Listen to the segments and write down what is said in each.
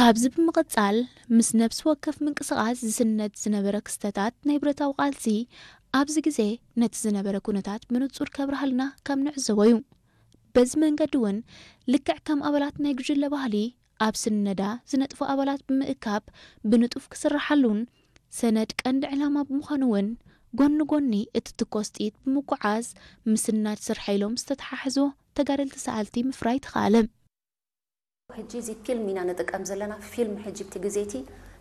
ኣብዚ ብምቕጻል፣ ምስ ነፍሲ ወከፍ ምንቅስቓስ ዝስነድ ዝነበረ ክስተታት ናይ ብረታዊ ቃልሲ ኣብዚ ግዜ ነቲ ዝነበረ ኩነታት ብንጹር ከብርሃልና ከም ንዕዘቦ እዩ። በዚ መንገዲ እውን ልክዕ ከም ኣባላት ናይ ጉጅለ ባህሊ ኣብ ስነዳ ዝነጥፉ ኣባላት ብምእካብ ብንጡፍ ክስርሓሉን ሰነድ ቀንዲ ዕላማ ብምዃኑ እውን ጎኒ ጎኒ እቲ ትኮስ ጥይት ብምጉዓዝ ምስናድ ስርሐ ኢሎም ዝተተሓሕዞ ተጋደልቲ ሰኣልቲ ምፍራይ ተኻእለ። ሕጂ እዚ ፊልም ኢና ንጥቀም ዘለና። ፊልም ሕጂ ብቲ ግዜ እቲ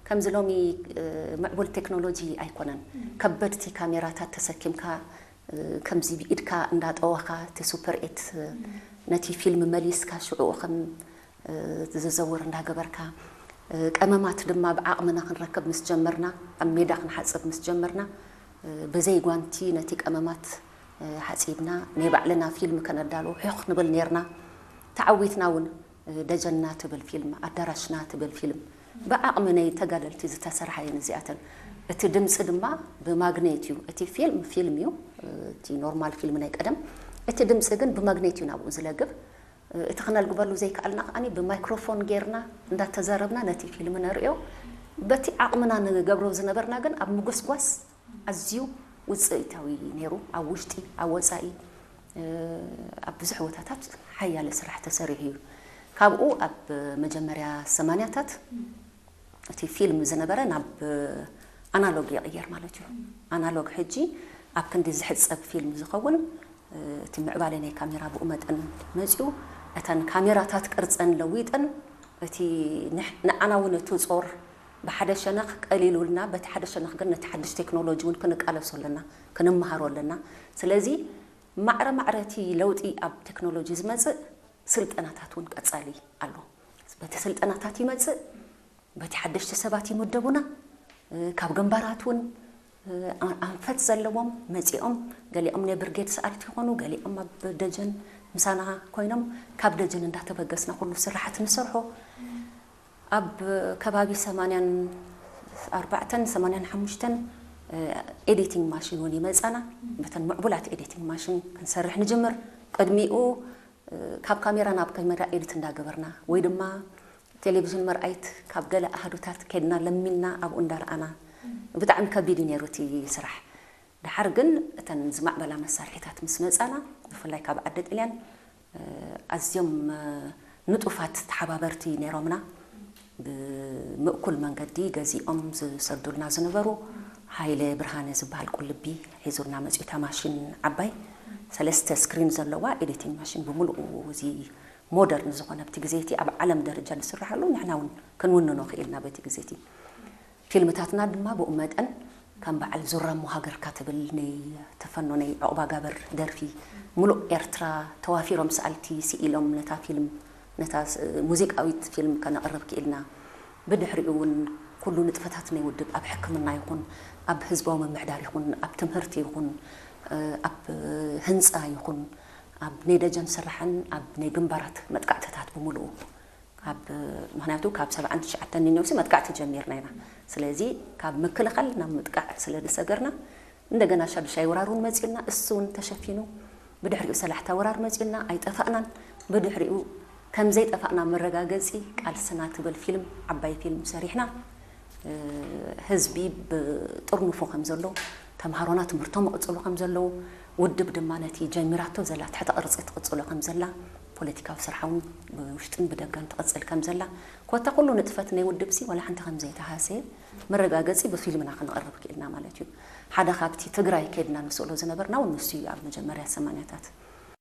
ከምዚ ሎሚ ምዕቡል ቴክኖሎጂ ኣይኮነን። ከበድቲ ካሜራታት ተሰኪምካ ከምዚ ብኢድካ እንዳጠወኻ እቲ ሱፐር ኤት ነቲ ፊልም መሊስካ ሽዑኡ ከም ዝዘውር እንዳገበርካ፣ ቀመማት ድማ ብዓቕምና ክንረክብ ምስ ጀመርና፣ ኣብ ሜዳ ክንሓጽብ ምስ ጀመርና፣ ብዘይ ጓንቲ ነቲ ቀመማት ሓጺብና ናይ ባዕልና ፊልም ከነዳሉ ሑኽ ንብል ኔርና። ተዓዊትና እውን። ደጀንና ትብል ፊልም፣ ኣዳራሽና ትብል ፊልም ብዓቕሚ ናይ ተጋደልቲ ዝተሰርሓ እየን እዚኣተን። እቲ ድምፂ ድማ ብማግኔት እዩ። እቲ ፊልም ፊልም እዩ፣ እቲ ኖርማል ፊልም ናይ ቀደም። እቲ ድምፂ ግን ብማግኔት እዩ ናብኡ ዝለግብ። እቲ ክነልግበሉ ዘይከኣልና ከኣ ብማይክሮፎን ጌርና እንዳተዛረብና ነቲ ፊልም ነርእዮ። በቲ ዓቕምና ንገብሮ ዝነበርና ግን ኣብ ምጉስጓስ ኣዝዩ ውፅኢታዊ ነይሩ። ኣብ ውሽጢ፣ ኣብ ወፃኢ፣ ኣብ ብዙሕ ቦታታት ሓያለ ስራሕ ተሰሪሑ እዩ። ካብኡ ኣብ መጀመርያ ሰማንያታት እቲ ፊልም ዝነበረ ናብ ኣናሎግ ይቕየር ማለት እዩ። ኣናሎግ ሕጂ ኣብ ክንዲ ዝሕፀብ ፊልም ዝኸውን እቲ ምዕባለ ናይ ካሜራ ብኡ መጠን መፂኡ። እተን ካሜራታት ቅርፀን ለዊጠን እቲ ንዓና እውን እቲ ፆር ብሓደ ሸነኽ ቀሊሉልና፣ በቲ ሓደ ሸነኽ ግን ነቲ ሓድሽ ቴክኖሎጂ እውን ክንቃለሶ ኣለና፣ ክንመሃሮ ኣለና። ስለዚ ማዕረ ማዕረ እቲ ለውጢ ኣብ ቴክኖሎጂ ዝመፅእ ስልጠናታት እውን ቀፃሊ ኣሎ። በቲ ስልጠናታት ይመፅእ፣ በቲ ሓደሽቲ ሰባት ይምደቡና። ካብ ግንባራት እውን ኣንፈት ዘለዎም መፂኦም፣ ገሊኦም ናይ ብርጌድ ሰኣልቲ ይኾኑ፣ ገሊኦም ኣብ ደጀን ምሳና ኮይኖም ካብ ደጀን እንዳተበገስና ኩሉ ስራሓት ንሰርሖ። ኣብ ከባቢ ሰማንያን ኣርባዕተን ሰማንያን ሓሙሽተን ኤዲቲንግ ማሽን እውን ይመፃና። በተን ምዕቡላት ኤዲቲንግ ማሽን ክንሰርሕ ንጅምር። ቅድሚኡ ካብ ካሜራ ናብ ካሜራ ኤዲት እንዳገበርና ወይ ድማ ቴሌቪዥን መርኣይት ካብ ገለ ኣሃዱታት ከድና ለሚንና ኣብኡ እንዳረኣና ብጣዕሚ ከቢድ እዩ ነይሩ እቲ ስራሕ። ድሓር ግን እተን ዝማዕበላ መሳርሒታት ምስ መፃና ብፍላይ ካብ ዓዲ ጥልያን ኣዝዮም ንጡፋት ተሓባበርቲ ነይሮምና። ብምእኩል መንገዲ ገዚኦም ዝሰዱልና ዝነበሩ ሃይለ ብርሃነ ዝበሃል ቁልቢ ሒዙልና መፅኡ። እታ ማሽን ዓባይ ሰለስተ ስክሪን ዘለዋ ኤዲቲንግ ማሽን ብምሉኡ እዚ ሞደርን ዝኾነ ኣብቲ ግዜ እቲ ኣብ ዓለም ደረጃ ዝስርሓሉ ንሕና እውን ክንውንኖ ክኢልና በቲ ግዜ እቲ። ፊልምታትና ድማ ብኡ መጠን ከም በዓል ዙራሞ ሃገርካ ትብል ናይ ተፈኖ ናይ ዑቕባጋብር ደርፊ ምሉእ ኤርትራ ተዋፊሮም ሰኣልቲ ስኢሎም ነታ ፊልም ነታ ሙዚቃዊት ፊልም ከነቕርብ ክኢልና። ብድሕሪኡ እውን ኩሉ ንጥፈታት ናይ ውድብ ኣብ ሕክምና ይኹን ኣብ ህዝባዊ ምምሕዳር ይኹን ኣብ ትምህርቲ ይኹን ኣብ ህንፃ ይኹን ኣብ ናይ ደጀን ስራሕን ኣብ ናይ ግንባራት መጥቃዕትታት ብምሉኡ ካብ ምክንያቱ ካብ ሰብዓን ትሽዓተን ንነውሲ መጥቃዕቲ ጀሚርና ኢና። ስለዚ ካብ ምክልኻል ናብ ምጥቃዕ ስለ ዝሰገርና እንደገና ሻዱሻይ ወራር እውን መፂኡና፣ እሱ እውን ተሸፊኑ። ብድሕሪኡ ሰላሕታ ወራር መፂኡና፣ ኣይጠፋእናን። ብድሕሪኡ ከም ዘይጠፋእና መረጋገፂ ቃልስና ትብል ፊልም፣ ዓባይ ፊልም ሰሪሕና። ህዝቢ ብጥርንፉ ከም ዘሎ፣ ተምሃሮና ትምህርቶም ይቕፅሉ ከም ዘለዉ፣ ውድብ ድማ ነቲ ጀሚራቶ ዘላ ትሕተ ቅርፂ ትቕፅሎ ከም ዘላ፣ ፖለቲካዊ ስርሓ እውን ብውሽጥን ብደገን ትቕፅል ከም ዘላ፣ ኮታ ኩሉ ንጥፈት ናይ ውድብ ሲ ዋላ ሓንቲ ከም ዘይተሃሰየ መረጋገፂ ብፊልምና ክንቕርብ ክኢልና ማለት እዩ። ሓደ ካብቲ ትግራይ ከድና ንስእሎ ዝነበርና እውን ንሱ እዩ። ኣብ መጀመርያ ሰማንያታት